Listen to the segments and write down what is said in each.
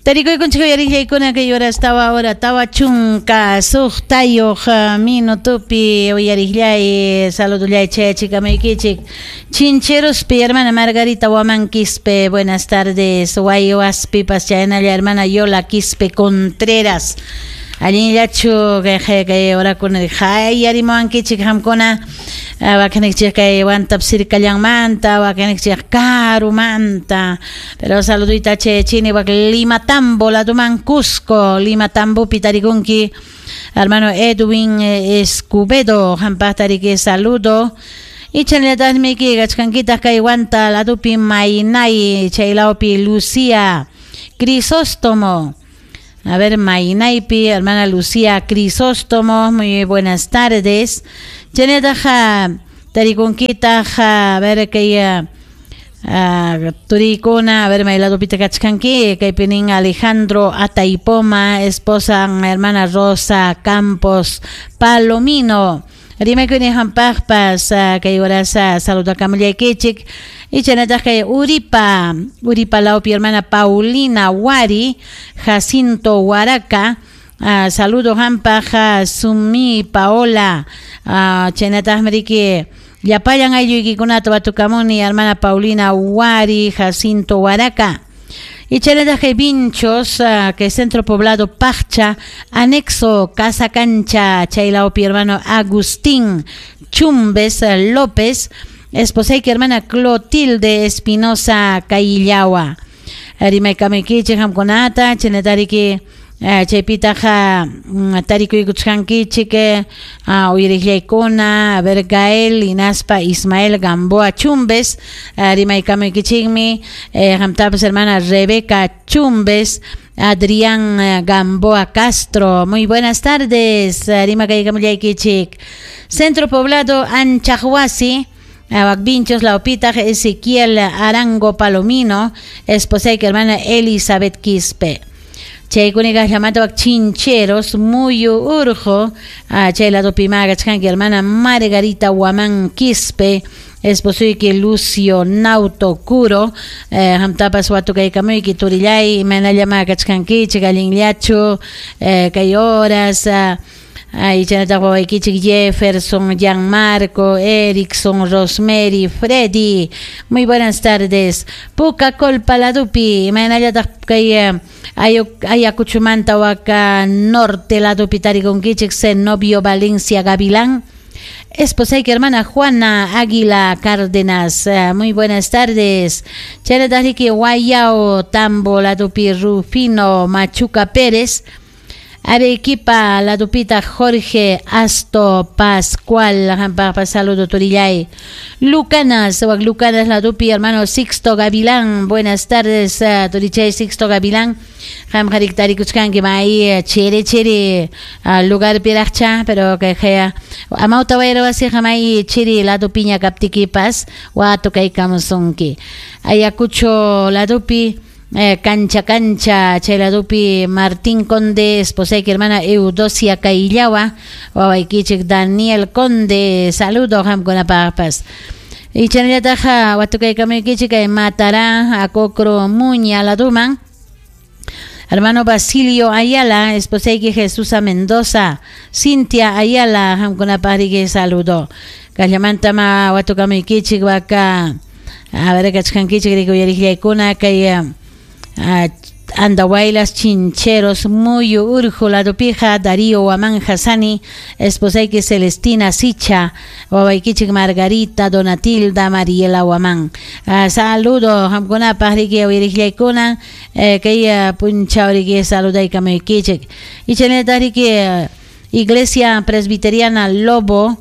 Tarikuykunchik uyariqllaykuna kay horas tawa hora 46 minutopi uyariqllay saludollay chayachikamuykichik Chincherospi hermana Margarita Huamán Quispe, buenas tardes. Guayuaspipas chaynalla hermana Yola Quispe Contreras. Allinllachu kay kay horakuna hayarimuwankichik qamkuna wakinikchik kay wantap sirkallanmanta wakinikchik karumanta, pero saluduyta chayachini wak Limatambo laduman Cusco Limatambopi tarikunki hermano Edwin Escobedo qampaq tariki saludo. Y chaynallataqmi kachkankitaq kay wanta ladupi Maynay chaylawpi Lucía Crisóstomo. A ver, Mainaypi, hermana Lucía Crisóstomo, muy buenas tardes. Chaynataqa tarikunkitaq, a ver, kay turikuna, a ver, mayladupita kachkanki, kaypi nin Alejandro Ataipoma, esposa hermana Rosa Campos Palomino. Rimaykuni hampaqpas kay horasa saludakamullaykichik. Y chaynataq kay Uripa, Uripa lawpi hermana Paulina Wari, Jacinto Huaraca, saludo hampaq Sumi Paola, chaynataqmi riki llapallan aylluykikunata watukamuni hermana Paulina Wari, Jacinto Huaraca. Y chaynataq kay Vinchos, que centro poblado Paccha, anexo Casa Cancha, chaylawpi hermano Agustín Chumbes López, esposayki hermana Clotilde Espinosa Caillawa. Rimaykamuykichik qamkunata, chaynatariki chaypitaqa tarikuykuchkankichik uyariqllaykuna, a ver Gael hinaspa Ismael Gamboa Chumbes, rimaykamuykichikmi qamtapas hermana Rebeca Chumbes, Adrián Gamboa Castro. Muy buenas tardes, rimakaykamullaykichik. Centro Poblado Anchahuasi, Vinchos Laupita, Ezequiel Arango Palomino, esposayki hermana Elizabeth Quispe. Chaykuniqa llamata wak Chincheros, Muyu Urjo, chay ladopi kachkanki hermana Margarita Huamán Quispe, esposuyki Lucio Nauto Curo, qamtapas watukaykamuyki turillay, imaynallama kachkankichik, allinllachu, kay horas, ay chaynataq wawaykichik Jefferson, Gianmarco, Erickson, Rosemary, Freddy. Muy buenas tardes. Puka Colpa ladupi, imaynallataq kay Ayacuchumanta waka norte ladupi tarikunkichik Zenobio Valencia Gavilán. Esposayki hermana Juana Águila Cárdenas. Muy buenas tardes. Chaynataq riki Guayao Tambo ladupi Rufino Machuca Pérez. Arequipa, Ladupita, Jorge Asto Pascual, qampaqpas saludo turillay. Lucanas, Lucanas Ladupi, hermano Sixto Gavilán, buenas tardes, turichay Sixto Gavilán. Qamqarik tarikuchkanki may chere chere lugar piraqcha, pero que jea amawta wayra wasiqa may chiri ladupiña kaptikipas watukaykamusunki. Ayacucho Ladupi, Cancha Cancha, chayladupi Martín Conde, esposayki hermana Eudosia Caillawa, wawaykichik Daniel Conde, saludo qamkunapaqpas. Y chaynallataq watukaykamuykichik kay Matará, Acocro Muña laduman. Hermano Basilio Ayala, esposayki Jesusa Mendoza, Cintia Ayala, qamkunapaq riki saludo. Kallamantama watukamuykichik waka, a ver kachkankichik riki uyariqllaykuna kay Andahuaylas, Chincheros, Muyu, Urjo, Ladupija, Darío, Huamán, Hassani, esposayki Celestina, Sicha, wawaykichik Margarita, Donatilda, Mariela, Huamán. Saludo, qamkunapaq riki uyariqllaykuna, kay punchaw riki saludaykamuykichik. Y chaynallataq riki Iglesia Presbiteriana Lobo,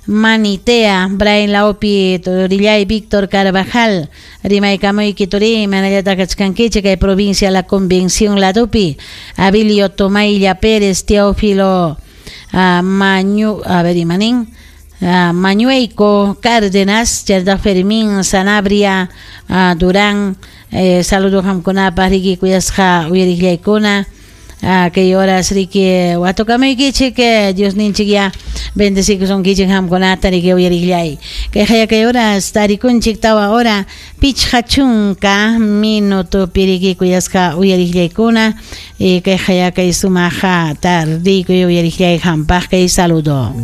Manitea, Brian Laopi, Turillay, Víctor Carvajal, Rimaykamuyki turi, manallataq kachkankichik kay provincia La Convención Ladupi, Abilio Tomaylla Pérez, Teófilo Mañu, a ver, imanin, Mañueco Cárdenas, Cherda Fermín, Sanabria, Durán, saludo qamkunapaq riki kuyasqa uyariqllaykuna. Kay horas riki watukamuykichik, Diosninchik ya bendecikusunkichik hamkunata riki uyariqllay. Kay kay horas tarikunchik 4 hora 50 minuto riki kuyasqa uyariqllaykuna, kay kay sumaqa tardiykuy uyariqllay hampaq kay saludo.